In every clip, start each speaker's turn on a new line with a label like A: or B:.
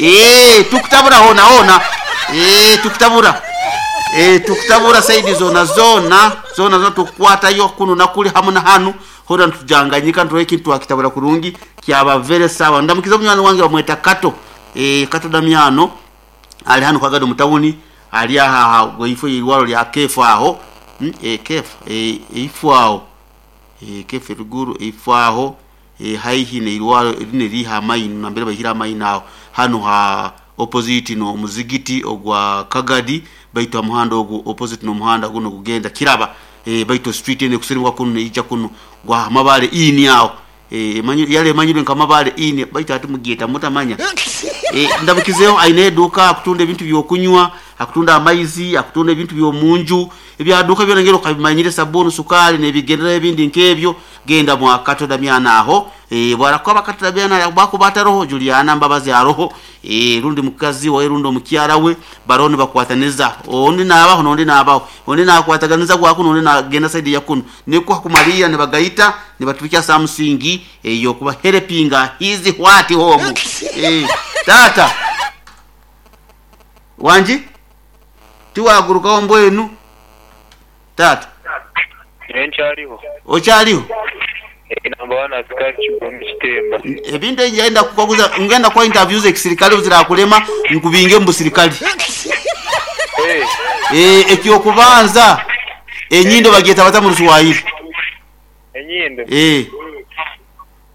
A: Eh, tukutabura hona hona. Eh, tukutabura. Eh, tukutabura saidi zona zona zona zona tukukwatayo kuno nakuli hamu na hanu hona ntujanganyika ntuwe kintu akitabura kurungi kyaba very sawa. Ndamukiza munywani wange bamweta Kato. Eh, Kato Damiano ali hano kwagado mutawuni ali aha gweifo irwalo lya kefu aho. Kefu ifo aho. Kefu ruguru ifo aho. Haihi neirwalo line liha amaino nambere bahira amaino aho hano ha opposite no muzigiti ogwa Kagadi baitu omuhanda ogu opposite no muhanda guno gugenda kiraba baitu street ene kusirimwa kuno neija kuno gwa mabale ini aho yale manyire nka mabale ini baitu ati mugieta mutamanya. Ndabukizeho aine eduka akutunda ebintu byokunywa, akutunda amaizi, akutunda ebintu byomunju, ebyaduka byona ngero kabimanyire sabuni, sukari nebigendera ebindi nkebyo. Genda mwa Kato Damiano aho. Bwarakuba Kato Damiano bakuba roho Juliana Mbabazi aroho, rundi mukazi wa rundi omukyara we baroni bakwataniza ondi nabaho nondi nabaho ondi nakwataganiza gwa kuno ondi nagenda side ya kuno niko kumalia ne bagaita ne batubikia something eyo kuba helpinga hizi what home. Tata wanji tiwagurukaho mbwenu tata
B: Nkyaliho.
A: Okyaliho?
B: Namba wana askari Kigoma Kitemba.
A: Ebintu ngenda kukaguza ngenda kwa interviews ekisirikali uzirakulema nkubinge mu sirikali. Ekyokubanza enyindo bagyeta bata mu Ruswahili.
B: Enyindo.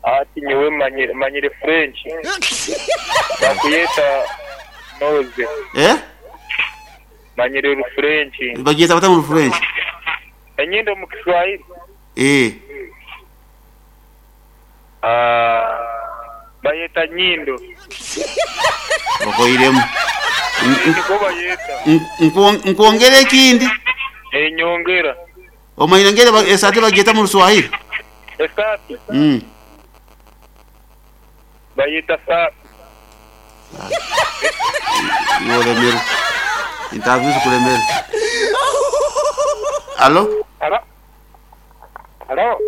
B: Ati nyewe manyire French. Bakuyeta nose. Manyire French.
A: Bagyeta bata mu French.
B: Enyindo mu Kiswahili. Bayeta nyindo.
A: Okoiremu.
B: Niko bayeta.
A: Nkuongere ekindi.
B: Nyongera.
A: Omanyire ngere esate bagyeta mu Ruswahili.
B: Esate. Bayeta sa.
A: Yolemero. Interviews kulemero. Alo?
C: Alo? Alo?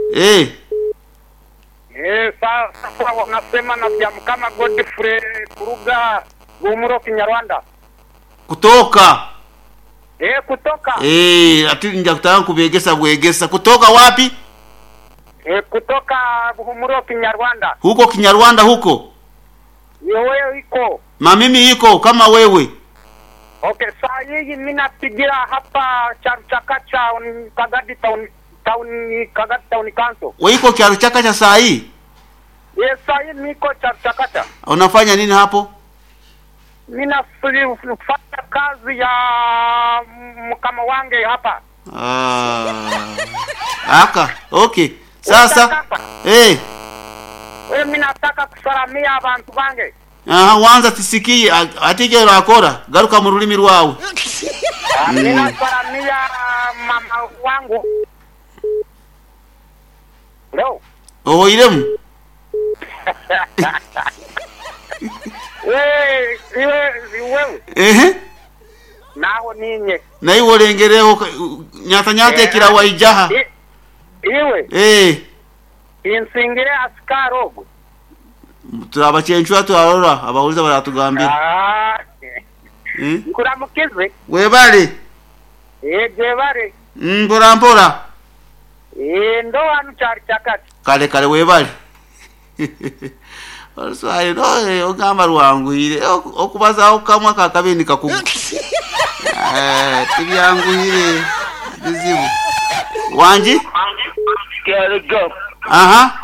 C: Sasa wanasema na kama Godfrey Kuruga Gumuro Kinyarwanda.
A: Kutoka.
C: Kutoka.
A: Ati nja kutaka kubegesa bwegesa. Kutoka wapi?
C: Kutoka Gumuro Kinyarwanda.
A: Huko Kinyarwanda huko?
C: Wewe iko.
A: Mamimi iko kama wewe.
C: Okay, saa hii mimi napigia hapa Charuchakacha Kagadi town Kagadi town council.
A: Wewe iko Charuchakacha saa hii?
C: Yes, saa hii niko Charuchakacha.
A: Unafanya nini hapo?
C: Mimi nafanya kazi ya mkama wange hapa.
A: Aka, okay. Sasa
C: Wewe mimi nataka kusalamia abantu bange.
A: Aha, wanza tisikie atike rakora garuka mu rulimi rwawe.
C: Mimi nasalamia mama wangu. Leo.
A: Oiremu.
C: Wewe. Naho ninye.
A: Na iwo lengereho nyata nyata kira waijaha.
C: Iwe. Insingire askari ogwe.
A: Turabachenchwa twarora abahuliza baratugambira.
C: Nkuramukize.
A: Webale.
C: Jebare.
A: Mpora mpora.
C: Ndo wanu Charuchakacha.
A: Kale kale webale. Oluswahili no ogamba lwanguhire okubazaho kamwa kakabeni kakugu. Tibyanguhire bizibu. Wanji? Aha.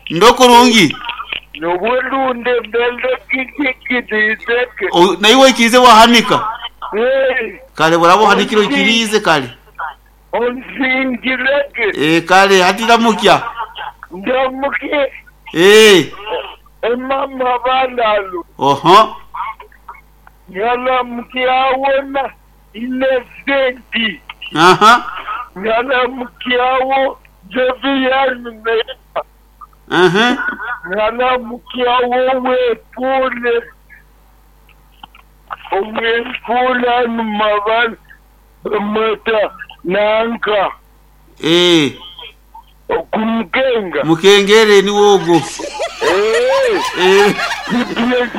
A: Ndokurungi.
B: Nobulunde mbele kikikidizeke.
A: Na iwe ikirize wahanika. Kale burabo hanikiro ikirize kale.
B: Onzingireke.
A: Kale hatiramukia.
B: Ndamuke. Mama balalu.
A: Oho.
B: Nyalamukiawona inesenti.
A: Aha.
B: Nyalamukiawo Jovian Mema.
A: Aha.
B: Nyalamukiawo wepule. Omwepula mabal mata nanka. Okumkenga.
A: Mukengere ni wogo.